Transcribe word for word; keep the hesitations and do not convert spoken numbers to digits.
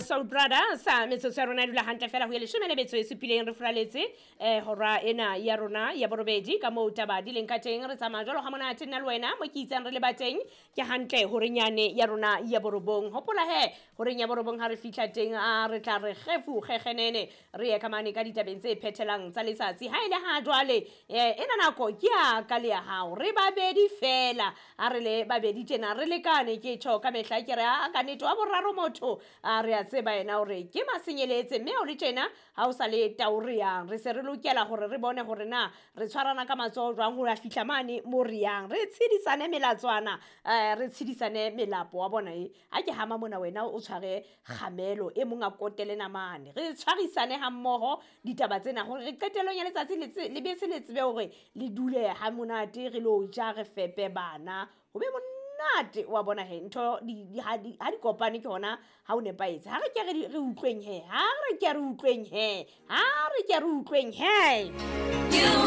Soul Brother sa metsotso ya rona e dula hantle fela ho ya leshome le metso e supileng re furaletse eh hora ena ya rona ya borobedi ka moo taba di leng ka teng. Re tsamaya jwalo ha monate nna le wena mo ke itsang re le ba teng ke hantle horenyane ya rona ya borobong. Hopola he horeng ya borobong ha re fihla teng a re tla re kgefu kgekgenene re ye ka mane ka ditabeng tse phethelang tsa letsatsi. Ha e le ha jwale eh ena nako ke ya ka le ya hao, re babedi fela, ha re le babedi tjena re lekane. Ke tjho ka mehla ke re a ka nnete wa boraro motho a re a tseba yena hore ke masenyeletse, mme ha o le tjena ha o sa le tao re yang, re se re lokela hore re bone hore na re tshwarana ka matsoho jwang ho ya fihla mane mo re yang, re tshedisane melatswana, eh re tshedisane melapo wa bona. E ha ke hama mona wena o tshware kgamelo, e mong a kotele namane, re tshwarisane ha mmoho ditaba tsena hore re qetellong ya letsatsi le tse-, le bese le tsebe hore le dule ha monate, re lo ja, re fepe bana, ho be monate wa bona he. Ntho di, di, ha di, ha di kopane ke hona ha o nepahetse. Ha re ke re di, re utlweng he, ha re ke re utlweng he, ha re ke re utlweng he. You